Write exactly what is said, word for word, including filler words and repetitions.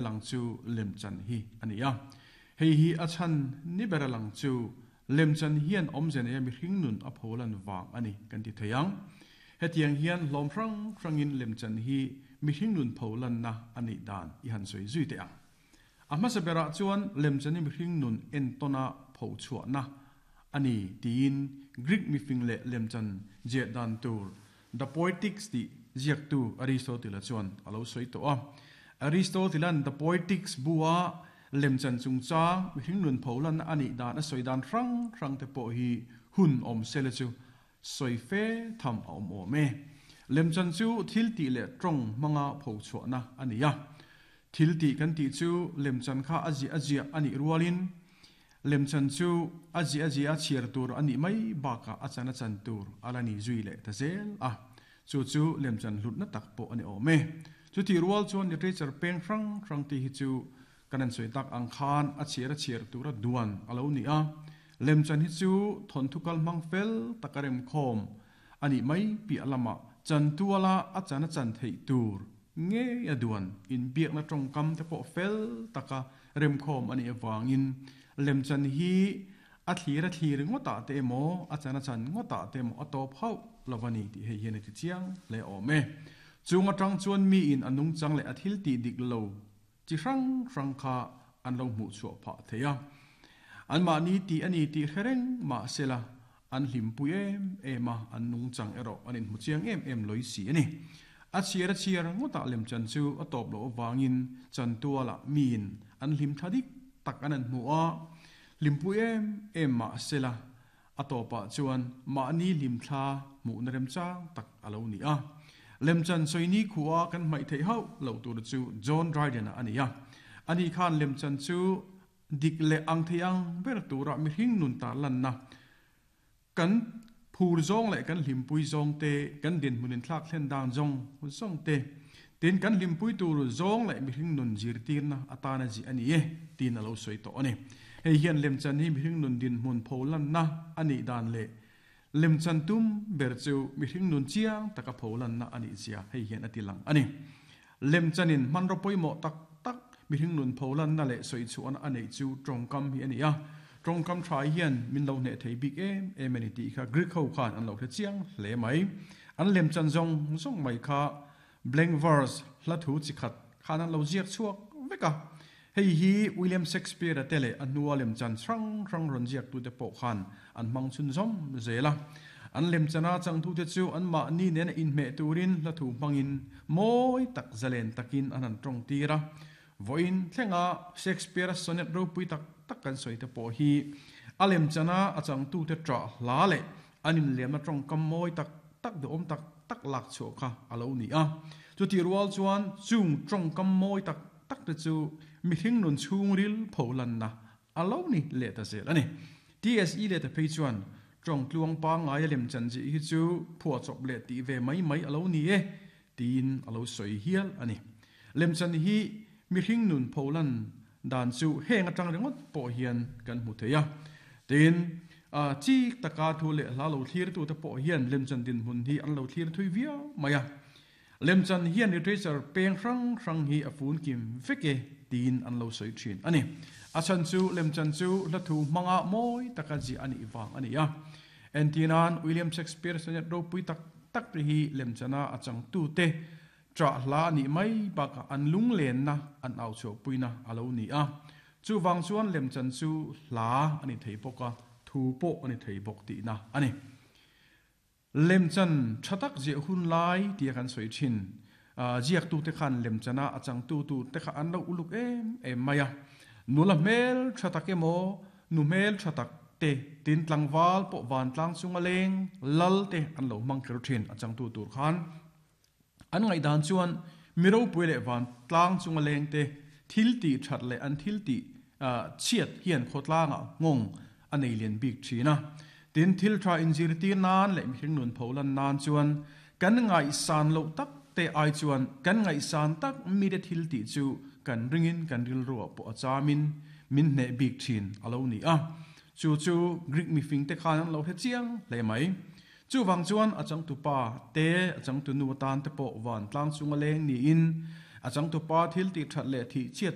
Lang chu lemchan hi a ni a. Hei hi a chhan ni bera lang chu lemchan hian awmze neia mihring nun a pholan vang a ni kan ti thei ang. Hetiang hian hlawm hrang hrangin lemchan hi mihring nun pholanna a nih dan i han sawi zui teh ang. A hmasa berah chuan lemchan hi mihring nun entawna phochhuahna a ni tiin Greek mifing leh lemchan ziah dan tur The Poetics tih ziaktu Aristotle-a chuan a lo sawi tawh a. Aristotle-a'n The Poetics bua lemchan chungchang mihring nun pholanna a nih dan a sawi dan hrang hrang te pawh hi hun awm sela chu sawi fe tham a awm awm e. Lemchan chu thil tih leh tawng hmanga phochhuahna a ni a. Thil tih kan tih chu lemchan kha a ziah a ziah a nih rualin lemchan chu a ziah a ziah a chhiar tur a nih mai bakah a chan a chan tur a la ni zui leh ta zel a. Chu chu lemchan hlutna tak pawh a ni awm e. Chutih rual chuan literature peng hrang hrang tih hi chu kan an sawi tak ang khan a chhiar a chhiar tura duan a lo ni a. Lemchan hi chu thawnthu kal hmang fel taka remkhawm a nih mai piah lamah chantuala a chan a chan theih tur ngei a duan inbiakna tawngkam te pawh fel taka remkhawm a nih avangin lemchan hi a thlir a thlir ngawtah te emaw a chan a chan ngawtah te emaw a tawp hauh lo a ni tih hei hian a ti chiang hle awm e. Chung atang chuan miin a nungchang leh a thil tih dik lo chi hrang hrang kha an lo hmuh chhuah phah thei a. Anmahni tih a ni tih hre reng mahsela an hlimpui em em a, an nungchang erawh an inhmu chiang em em lawih si a ni. A chhiar a chhiar ngawtah lemchan chu a tawp loh avangin chantualah miin an hlim tha dik tak an an hmu a, hlimpui em em mahsela a tawpah chuan mahni hlimthla hmuhna remchang tak a lo ni a. Lemchan sawini khua kan hmaih theih hauh loh tur chu John Dryden-a a ni a. Ani khan lemchan chu dik leh ang thei ang ber tura mihring nun tarlanna kan phur zawng leh kan hlimpui zawng te, kan dinhmunin thlak thlen dan zawng zawng te, tin kan hlimpui tur zawng leh mihring nun zirtirna atana zih a ni e tiin a lo sawi tawh a ni. Hei hian lemchan hi mihring nun dinhmun pholanna a nih dan leh lemchan tum ber chu mihring nun chiang taka pholanna a nih zia hei hian a ti lang a ni. Lemchanin hmanraw pawimawh tak tak mihring nun pholanna leh sawi chhuahna a neih chu tawngkam hi a ni a. Tawngkam tha hian min lo hneh thei bik em em a ni tih kha Greek ho khan an lo hre chiang hle mai. An lemchan zawng zawng mai kha blank verse hla thu chi khat khan an lo ziak chhuak vek a. Hei hi William Shakespeare-a te leh a hnua lemchan hrang hrang rawn ziaktute pawh khan an hmang chhunzawm zel a. An lemchana changtute chu anmahni nena inhmeh turin hla thu hmangin mawi tak zalen takin an han tawng tir a. Vawiin thlenga Shakespeare-a sonnet ropui tak tak kan sawi te pawh hi a lemchana a changtute ṭah hla leh an inliamna tawngkam mawi tak tak duhawm tak tak lak chhuah kha a lo ni a. Chutih rual chuan chung tawngkam mawi tak tak te chu mihring nun chhungril pholanna a lo ni leh ta zel a ni. T S E leh ta phei chuan tawng tluang pangngai a lemchan zih hi chu phuahchawp leh tih ve mai mai a lo ni e tiin a lo sawi hial a ni. Lemchan hi mihring nun pholan dan chu heng atang ringawt pawh hian kan hmu thei a. Tin, chik taka thu leh hla lo thlirtute pawh hian lemchan dinhmun hi an lo thlir thui viau mai a. Lemchan hian literature peng hrang hrang hi a fun kim vek e tiin an lo sawi thin a ni. A chhan chu lemchan chu hla thu hmanga mawi taka ziah a nih vang a ni a. Entirnan William Shakespeare sonnet ropui tak tak te hi lemchana a changtute ṭah hla a nih mai bakah an lunglenna an au chhuahpuina a lo ni a. Chuvang chuan lemchan chu hla a ni thei bawk a, thu pawh a ni thei bawk tihna a ni. Lemchan tha tak ziah hun lai tia kan sawi thin. Ziaktute khan lemchana a changtu tur te kha an lo uluk em em mai a. Nula hmel tha tak emaw, nu hmel tha tak te, tin tlangval pawh vantlang chunga leng lal te an lo hmang kher thin a changtu tur khan. An ngaihdan chuan mi ropui leh vantlang chunga leng te thil tih that leh an thil tih chhiat hian khawtlangah nghawng a nei lian bik thin a. Tin, thil tha inzirtir nan leh mihring nun pholan nan chuan kan ngaihsan loh tak te ai chuan kan ngaihsan tak mite thil tih chu kan ringin kan rilruah pawh a chamin min hneh bik thin a lo ni a. Chu chu Greek mifing te khan an lo hre chiang hle mai. Chuvang chuan a changtu pa te, a changtu nu atan te pawh vantlang chunga leng niin A changtupa thil tih that leh thih chiat